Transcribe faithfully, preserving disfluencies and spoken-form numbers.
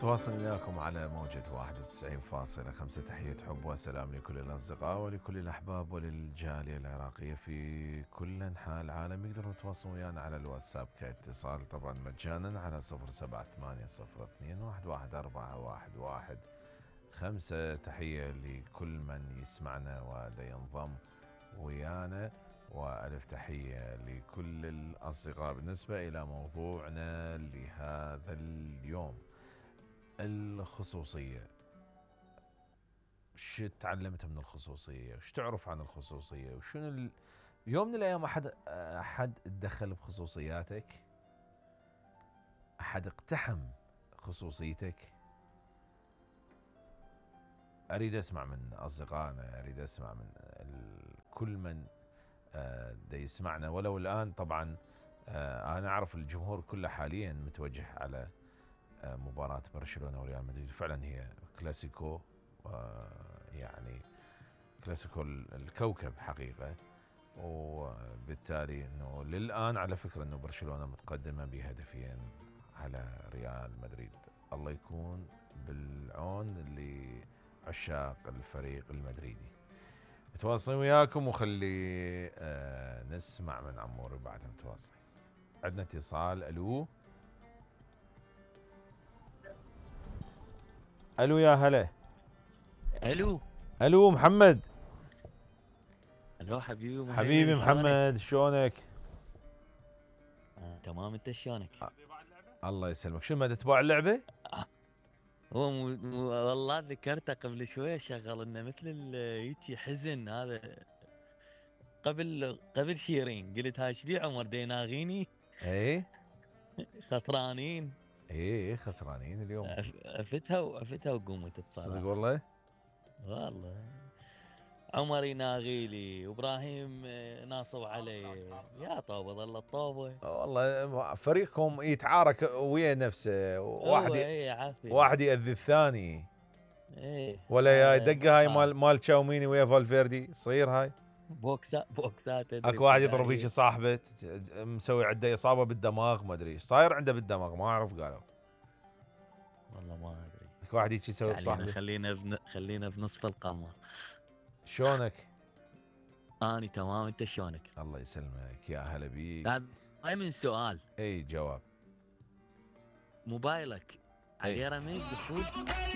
تواصل وياكم على موجة واحد وتسعين فاصلة خمسة. تحية حب وسلام لكل الأصدقاء ولكل الأحباب وللجالية العراقية في كل أنحاء العالم. يقدرون يتواصلون ويانا على الواتساب كاتصال طبعا مجانا على صفر سبعة ثمانية صفر اثنين واحد واحد أربعة واحد واحد خمسة. تحية لكل من يسمعنا ودا ينضم ويانا، وألف تحية لكل الأصدقاء. بالنسبة إلى موضوعنا لهذا اليوم، الخصوصية. شو تعلمت من الخصوصية؟ وش تعرف عن الخصوصية؟ وشنو ال... يوم من الأيام أحد أحد تدخل بخصوصياتك؟ أحد اقتحم خصوصيتك؟ أريد أسمع من أصدقائنا، أريد أسمع من ال... كل من آه دا يسمعنا ولو الآن. طبعا آه أنا أعرف الجمهور كله حاليا متوجه على آه مباراة برشلونة وريال مدريد. فعلا هي كلاسيكو، آه يعني كلاسيكو الكوكب حقيقة، وبالتالي انه للآن على فكرة انه برشلونة متقدمة بهدفين على ريال مدريد. الله يكون بالعون لعشاق الفريق المدريدي. متواصلين وياكم وخلي آه نسمع من عموري بعد متواصل. عندنا اتصال. الو الو يا هلا. الو الو محمد. الو حبيبي حبيبي محمد شلونك؟ آه، تمام. انت شلونك؟ الله يسلمك. شو ما تتباع اللعبة؟ هو مو مو والله ذكرته قبل شويه، شغل لنا مثل هيجي حزن هذا قبل قبل شيرين. قلت هاي ايش بي عمر ديناغيني؟ ايه خسرانين. ايه خسرانين اليوم. عفتها وعفتها وقمت الصراحه. صدق والله؟ والله عمر يناغيلي وابراهيم ناصب علي. يا طوبه ظل الطوبه. والله فريقكم يتعارك ويا نفسه، واحد ايه واحد يأذي الثاني. ايه ولا يا دقه هاي مال مال تشاوميني ويا فالفيردي تصير هاي بوكسات بوكسات. اكو واحد يضرب هيك صاحبه مسوي عنده اصابه بالدماغ، ما ادري ايش صاير عنده بالدماغ، ما اعرف قالوا. والله ما ادري. اكو واحد هيك يسوي يعني بصاحبه. خلينا بن... خلينا بنصف القمر. شلونك؟ اني تمام. انت شلونك؟ الله يسلمك يا هلا بيك. هاي من سؤال. اي جواب. موبايلك عليه رمز دخول؟